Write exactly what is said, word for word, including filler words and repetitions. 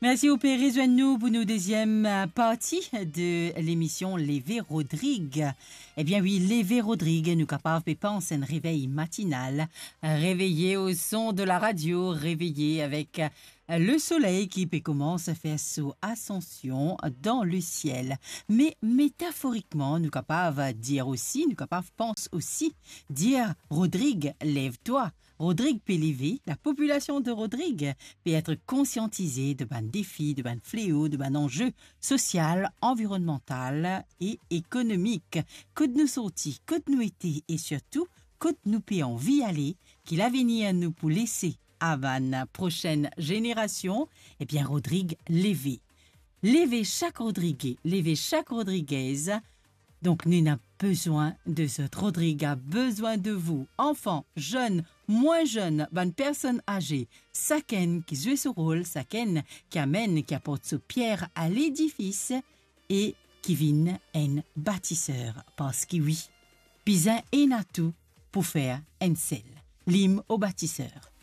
Mersi, ou pe rezwenn nou pou nou deziem, eh, parti de lemision Leve Rodrig. Ebien wi, Leve Rodrig, nou kapav pe pans enn revey matinal, reveye o son de la radio, reveye avek, eh, le soley ki pe koumans fer so asansion dan le siel. Me metaforikman, nou kapav dir osi, nou kapav pans osi, dir, Rodrig, lev twa. Rodrig pe leve, lapopilasion de Rodrig pe et konsiantize de bann defi, de bann fleo, de bann anze sosial, anvironnmantal e ekonomik. Kot nou sorti, kot nou ete e sirtou kot nou pe anvi ale, ki lavenir nou pou lese a bann prosenn zenerasion, ebien, Rodrig, leve. Leve sak Rodrige, leve sak Rodrigez. Donk, nou ena bezwin de zot. Rodrig a bezwin de vou, anfan, zenn, mwin zenn, bann personn aze, sakenn ki zwe so rol, sakenn ki amenn, ki aport so pier a ledifis e ki vinn enn batiser. Parski wi, bizin ena tou pou fer enn sel. Lim o batiser.